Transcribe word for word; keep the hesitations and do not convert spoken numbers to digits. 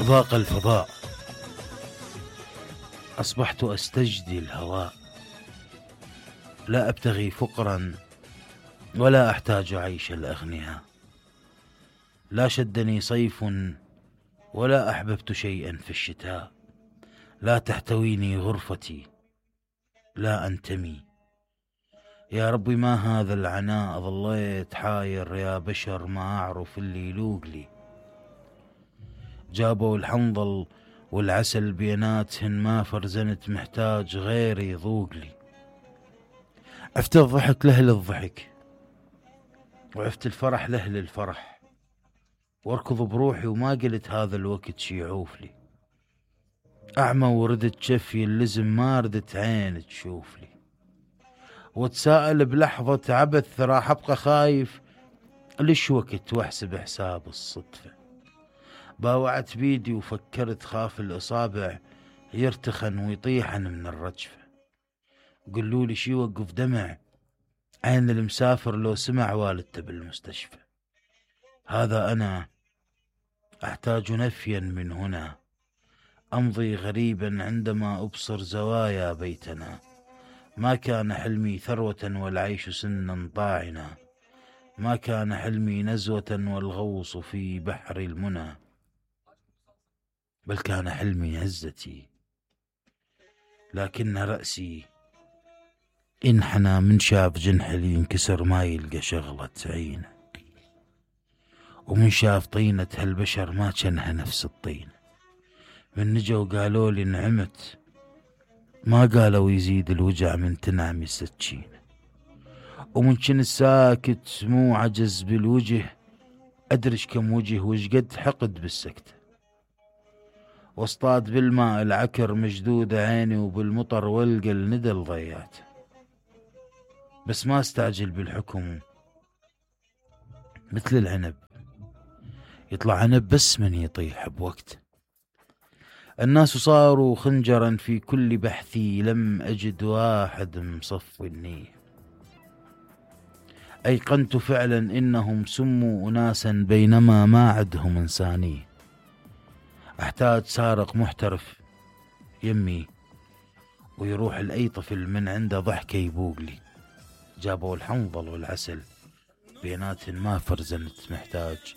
ضاق الفضاء، أصبحت أستجدي الهواء، لا أبتغي فقرا ولا أحتاج عيش الأغنياء، لا شدني صيف ولا أحببت شيئا في الشتاء، لا تحتويني غرفتي لا أنتمي. يا ربي ما هذا العناء، ظليت حاير يا بشر ما أعرف اللي يلوق لي. جابوا الحنظل والعسل بيناتهن ما فرزنت، محتاج غيري يذوق لي. عفت الضحك لأهل الضحك وعفت الفرح لأهل الفرح، واركض بروحي وما قلت هذا الوقت شي يعوف لي. أعمى وردت شفي اللزم ما ردت عين تشوف لي، واتساءل بلحظة عبث راح أبقى خايف ليش وقت واحسب حساب الصدفة. باوعت بيدي وفكرت خاف الإصابع يرتخن ويطيحن من الرجفة. قلوا لي شي وقف دمع عين المسافر لو سمع والدته بالمستشفى. هذا أنا أحتاج نفيا من هنا، أمضي غريبا عندما أبصر زوايا بيتنا. ما كان حلمي ثروة والعيش سنا طاعنا، ما كان حلمي نزوة والغوص في بحر المنى، بل كان حلمي عزتي. لكن رأسي انحنى من شاف جنحلي ينكسر ما يلقى شغلة عينه، ومن شاف طينة هالبشر ما كانها نفس الطين. من نجوا قالوا لي نعمت ما قالوا يزيد الوجع من تنعم السكينة، ومن كن الساكت مو عجز بالوجه أدرش كم وجه وش قد حقد بالسكتة. واصطاد بالماء العكر مجدود عيني وبالمطر والقى الندى الضيات، بس ما استعجل بالحكم مثل العنب يطلع عنب بس من يطيح بوقت. الناس صاروا خنجرا في كل بحثي لم أجد واحد مصفي النية. أيقنت فعلا إنهم سموا أناسا بينما ما عدهم إنسانية. أحتاج سارق محترف يمي ويروح لأي طفل من عنده ضحكة يبوق لي. جابوا الحنظل والعسل بيناتهن ما فرزنت، محتاج